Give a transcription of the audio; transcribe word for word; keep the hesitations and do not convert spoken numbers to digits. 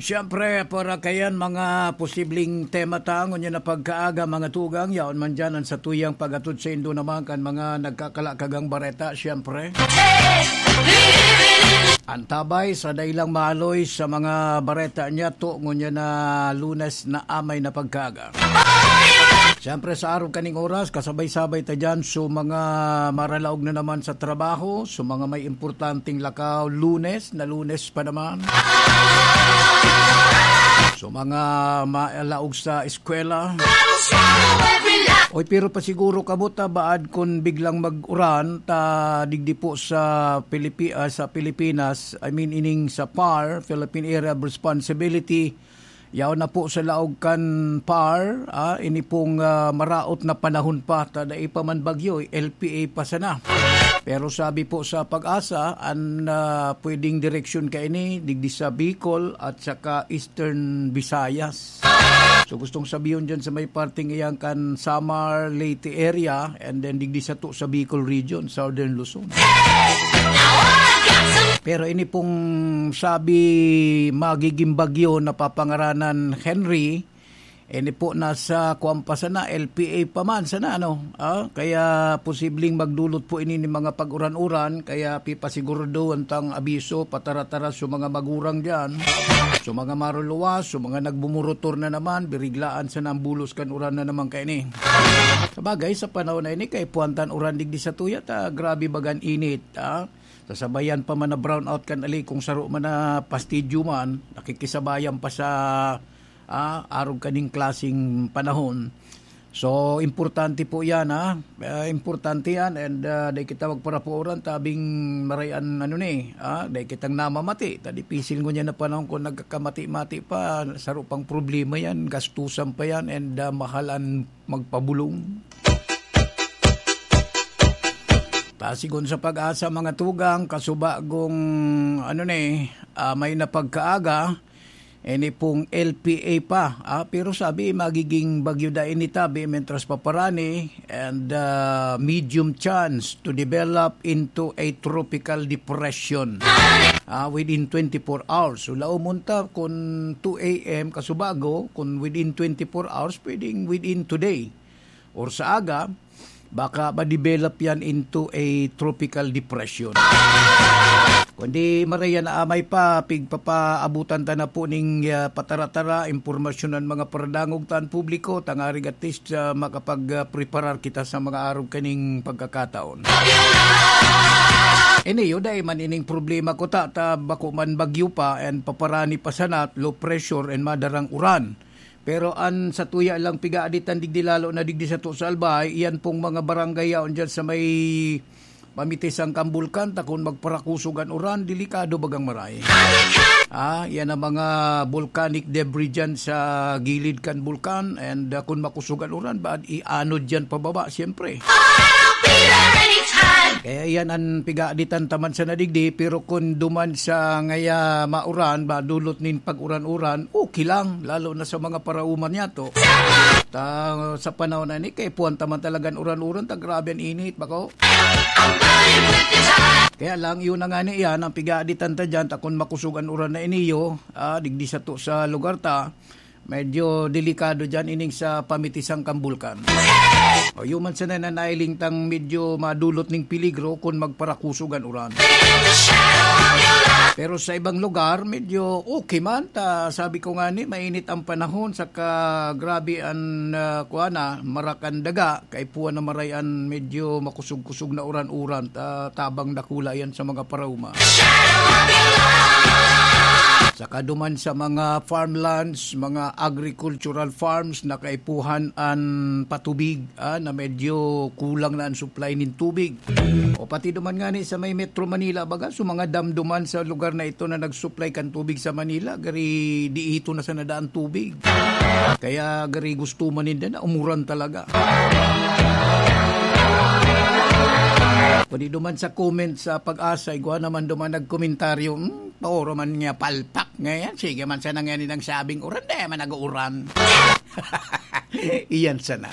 Siyempre, para kayan mga posibleng tema ta ngunyan na pagkaaga, mga tugang, yaon man dyan ang satuyang pag-atod sa indo naman kan mga nagkakalakagang bareta, siyempre. Antabay sa dailang maaloy sa mga bareta niya to ngunyan na Lunes na amay na pagkaaga. Siyempre, sa araw kaning oras, kasabay-sabay ta dyan so mga maralaog na naman sa trabaho, so mga may importanteng lakaw, Lunes na Lunes pa naman. So mga malaog sa eskwela. Oy, pero pasiguro kamo ta baad kun biglang mag-uran ta digdi po sa Pilipi-, ah, sa Pilipinas, I mean ining sa par, Philippine Area of Responsibility, yaon na po sa laog kan par, ah, ini pong, ah, maraot na panahon pa, ta dai pa man bagyo, L P A pa sana. Pero sabi po sa PAGASA, an, ah, pwedeng direksyon kaini digdi sa Bicol at saka Eastern Visayas. So gustong sabihon dyan sa may parting iyan kan Samar, Leyte area, and then digdi sato sa Bicol region, Southern Luzon. Pero ini pong sabi magiging bagyo na papangaranan Henry, ini po nasa kuwan pa sana, L P A pa man sana, ano? Ah, kaya posibleng magdulot po ini ni mga pag-uran-uran, kaya pipasiguraduhan tang abiso, patara-tara sa mga magurang dyan. Sa mga maruluwas, sa mga nagbumurotor na naman, biriglaan sana ang bulos kan uran na naman kaini. Sabagay, sa panahon na ini, kay puwantan uran digdi sa tuyat, ah, grabe bagan init, ah. Sasabayan pa man na brownout kan ali kung saro man na pastidyo man, nakikisabayan pa sa, ah, arog kaning klaseng panahon. So, importante po yan, ha? Ah, importante yan and, ah, dai kita magparapuoran, tabing maray an ano ni, ah, dai kitang namamati. Ta dipisil ngunyan na panahon kung nagkakamati-mati pa, saro pang problema yan, gastusan pa yan and, ah, mahal an magpabulong. Ta sigon sa PAGASA, mga tugang, kasubagong, ano ni, ah, may napagkaaga, ini pong L P A pa. Ah, pero sabi, magiging bagyo da ini tabi, mentras paparani, and, ah, medium chance to develop into a tropical depression, ah, within twenty-four hours. So, laomon ta kung two A M kasubago, kung within twenty-four hours, pwedeng within today or sa aga, baka ma-develop yan into a tropical depression. Kundi maray an amay pa, pigpapaabutan ta na po ning, ah, patara-tara, impormasyon an mga paradangog tan publiko, tangarig at least, ah, makapag, ah, preparar kita sa mga arog kaning pagkakataon. Ini, yun, dai man ining problema ko ta, ta bako man bagyo pa and paparani pa sana, low pressure and madarang uran. Pero an satuya lang pigaaditan digdi, lalo na digdi sato sa Albay, iyan pong mga barangay yaon diyan sa may pamitisan kan bulkan, ta kun magparakusog an uran, delikado bagang maray. Ah, yan ang mga volcanic debris dyan sa gilid kan bulkan, and, ah, kun makusog an uran, baad ianod dyan pababa, siyempre. Kaya iyan an pigaaditan ta man sana digdi, pero kun duman sa ngaya mauran, madulot nin pag-uran-uran, okay lang, lalo na sa mga parauman niyato. Ta, sa panahon na ini, kay puwan ta man talagang uran-uran, ta grabe an init, bako. Kaya lang, yun na nga ni iyan, ang pigaaditan ta dyan, ta kun makusog an uran na iniyo, ah, digdi sato sa lugar ta, medyo delikado dyan ining sa pamitisan kan bulkan. O, yun man sana na nailing tang medyo madulot ning peligro kun magparakusog an uran. Pero sa ibang lugar, medyo okay man. Ta, sabi ko nga ni, mainit ang panahon, saka grabe an, ah, kuwan na, marak an daga, kaipuhan na maray an medyo makusog-kusog na uran-uran, ta, tabang dakula yan sa mga parauma. Saka duman sa mga farmlands, mga agricultural farms, nakaipuhan an patubig, ah, na medyo kulang na an supply nin tubig. O pati duman nga ni sa may Metro Manila, baga, so mga dam duman sa lugar na ito na nag-supply kan tubig sa Manila, gari di ito na sana daan tubig. Kaya gari gusto man ninda na umuran talaga. Pwede duman sa comment sa PAGASA, igwa naman duman nagkomentaryo, "Hmm, paoro man niya palpak ngayon. Sige man sana ngayon ang sabing uran, di man nag-uuran." Iyan sana.